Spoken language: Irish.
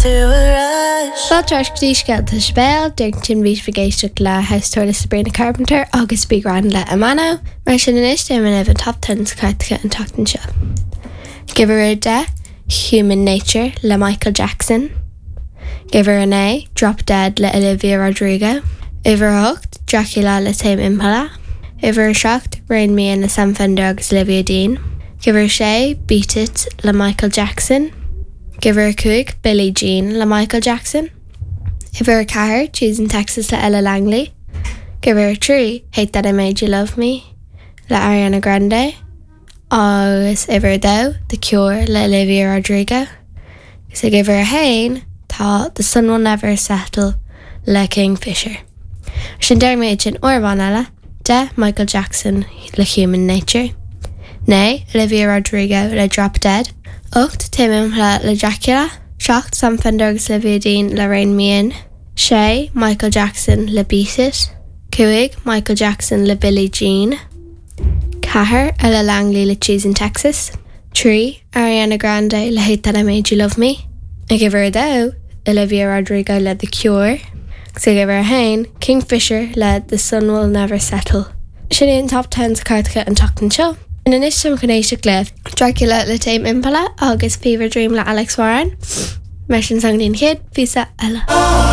Fáilte ar ais go dtí Scéalta sa Bhéal, díreach ansin bhí sibh ag éisteacht le House Tour le Sabrina Carpenter agus Be Grand le Amano. Mar sin anois déanfaidh mé libh an Top Ten sa chairteacha an tseachtain seo. Ag uimhir a 10, Human Nature le Michael Jackson. Ag uimhir a 9, Drop Dead le Olivia Rodrigo. Uimhir a 8, Dracula le Tame Impala. Uimhir a 7, Rein Me In le Sam Fender agus Olivia Dean. Ag uimhir a 6, Beat It le Michael Jackson. Ag uimhir a 5, Billie Jean le Michael Jackson. Uimhir a 4, Cheese in Texas le Ella Langley. Ag uimhir a 3, Hate That I Made You Love Me le Ariana Grande. Agus uimhir a 2, The Cure le Olivia Rodrigo. Agus ag uimhir a 1, tá The Sun Will Never Settle le Kingfisher. Sin déarfaidh mé iad sin uair amháin eile. 10, Michael Jackson le Human Nature. 9, Olivia Rodrigo le Drop Dead. 8, Tame Impala le Dracula. 7, Sam Fender agus Olivia Dean le Rein Me In. 6, Michael Jackson le Beat It. 5, Michael Jackson le Billie Jean. 4, Ella Langley le Cheese in Texas. 3, Ariana Grande le Hate That I Made You Love Me. Ag uimhir a 2, Olivia Rodrigo le The Cure. Agus ag uimhir a 1, Kingfisher le The Sun Will Never Settle. Sin é an Top Ten sa chairteacha an tseachtain seo. Anois táim chun éisteacht le Dracula le Tame Impala agus Fever Dream le Alex Warren. Mar sin slán go dtí an chéad phíosa eile.